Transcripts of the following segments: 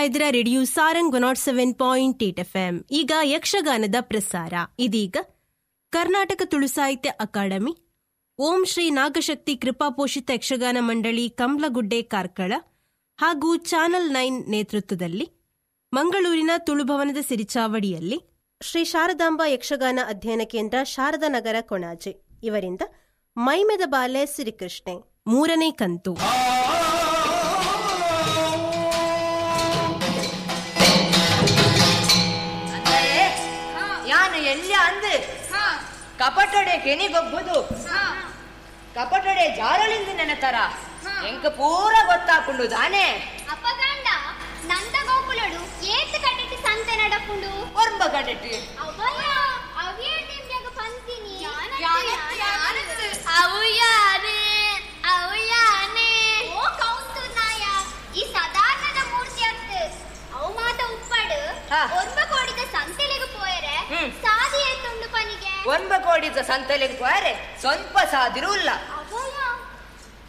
ಕೇಳ್ತಾ ಇದ್ದೀರಾ radio Sarang 107.8 FM. ಈಗ ಯಕ್ಷಗಾನದ ಪ್ರಸಾರ. ಇದೀಗ ಕರ್ನಾಟಕ ತುಳು ಸಾಹಿತ್ಯ ಅಕಾಡೆಮಿ, ಓಂ ಶ್ರೀ ನಾಗಶಕ್ತಿ ಕೃಪಾಪೋಷಿತ ಯಕ್ಷಗಾನ ಮಂಡಳಿ ಕಂಬ್ಲಗುಡ್ಡೆ ಕಾರ್ಕಳ ಹಾಗೂ ಚಾನಲ್ 9 ನೇತೃತ್ವದಲ್ಲಿ ಮಂಗಳೂರಿನ ತುಳುಭವನದ ಸಿರಿಚಾವಡಿಯಲ್ಲಿ ಶ್ರೀ ಶಾರದಾಂಬಾ ಯಕ್ಷಗಾನ ಅಧ್ಯಯನ ಕೇಂದ್ರ ಶಾರದಾ ನಗರ ಕೊಣಾಜೆ ಇವರಿಂದ ಮೈಮೆದ ಬಾಲೆ ಸಿರಿಕೃಷ್ಣೆ ಮೂರನೇ ಕಂತು. ಯಾನು ಎಲ್ಲ ಅಂದು ಕಪಟೊಡೆ ಕೆನಿಗೊಬ್ಬುದು ಕಪಟೊಡೆ ಜಾರಳಿಂದ ನೆನತರ ಎಂಕ ಪೂರ ಗೊತ್ತಾಪುಂಡು ದಾನೆ. ಅಪಗಂಡ ನಂದ ಗೋಕುಲಡು ಏತ್ ಕಡೆಟಿ ಸಂತೆ ನಡಪುಂಡು ಒರ್ಂಬ ಕಡೆಟಿ ಅವಯ ಅವಿಯರ್ ನಿಮ್ಗೆ ಪಂತಿನಿ ಅವುಯಾನೆ ಅವುಯಾನೆ ಓ ಕೌಂತು ನಾಯ ಈ ಸಾಧಾರಣದ ಮೂರ್ತಿ ಅತ್ತು ಅವು ಮಾತ ಉಪ್ಪಡು ಒರ್ಂಬ ಕೋಡಿದ ಸಂತೆಲೆಗೆ ಪೋಯರೆ ಸಾದಿ ಏತುಂಡು ಪನಿಗೆ ಒರ್ಂಬ ಕೋಡಿದ ಸಂತೆಲೆಗೆ ಪೋಯರೆ ಸ್ವಲ್ಪ ಸಾದಿರುಲ್ಲ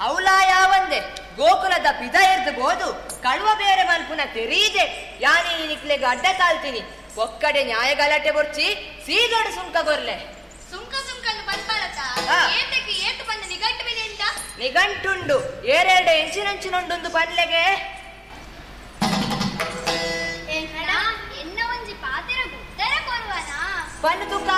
ಅವಲ ಯಾವಂದೆ ಗೋಕುಲದ ಪಿದ ಎರ್ದು ಬೋದು ಕಳುವ ಬೇರೆ ಮಲ್ಪುನ ತೆರೀದೆ ಯಾನಿ ನಿಕ್ಲೆಗೆ ಅಡ್ಡ ತಾಳ್ತೀನಿ ಒಕ್ಕಡೆ ನ್ಯಾಯ ಗಲಾಟೆ ಬೊರ್ಚಿ ಸೀದೋಡು ಸುಂಕ ಗೊರ್ಲೆ ಸುಂಕ ಸುಂಕನ್ನು ಬಂದ್ಬಾರತ ಏತಕ್ಕೆ ಏತು ಬಂದ ನಿಘಂಟು ಬೆಲೆಯಿಂದ ನಿಘಂಟುಂಡು ಏರೆರಡು ಇಂಚಿನಂಚಿನೊಂಡೊಂದು ಪನ್ಲೆಗೆ ಎನ್ನ ಒಂಜಿ ಪಾತೆರ ಗುತ್ತರ ಕೊರುವನಾ ಪನ್ನು ತುಕ.